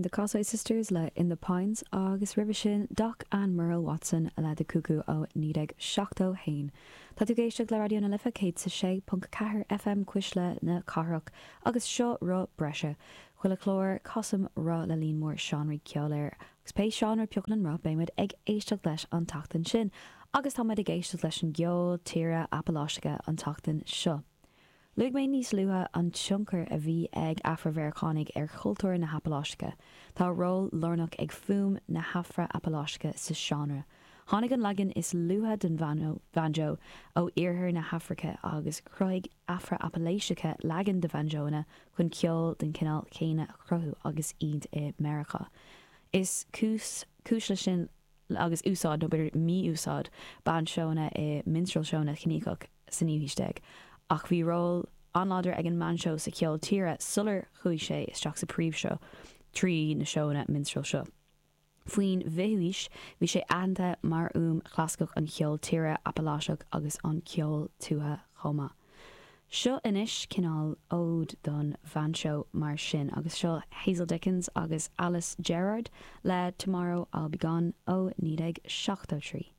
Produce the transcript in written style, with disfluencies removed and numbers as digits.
The Kossoy Sisters le In the Pines agus roimhe sin Doc and Merle Watson le The Cuckoo ó 1971. Tá tú ag éisteacht le Raidió na Life 106.4 FM Cuisle na Cathrach agus seo Roth Breise. Chuile chlár, casaim roth le líon mór seánraí ceoil air agus pé seánra a phiocann an roth beidh muid ag éisteacht leis an tseachtain sin. Agus tá muid ag éisteacht leis an gceol tíre Apaláiseach an tseachtain seo. Luaigh mé níos luaithe an tionchar a bhí ag Afra-Mheiriceánaigh ar chultúr na hApaláiseacha. Tá ról lárnach ag fuaim na hAfra-Apaláiseacha sa seánra. Tháinig an leagan is luaithe den bhanjó ó iarthar na hAfraice agus chruthaigh Afra-Apaláiseacha leagan de bhanjóanna chun ceol den chineál céanna a chruthú agus iad i Meiriceá. Is cúis leis sin agus úsáid, nó b'fhéidir mí-úsáid, bainseónna i minstrel-seónna ciníocha sa naoú haois déag. Ach bhí ról an-láidir ag an mbainseó sa cheol tíre sular chuaigh sé isteach sa phríomhshruth trí na seónna minstrel seo. Faoin bhfichiú haois bhí sé aitheanta mar fhuaim chlasaiceach an cheoil tíre Apaláiseach agus an ceol tuaithe chomh maith. Seo anois cineál ód don bhainseó mar sin agus seo Hazel Dickens agus Alice Gerrard le Tomorrow I'll Be Gone ó 1973.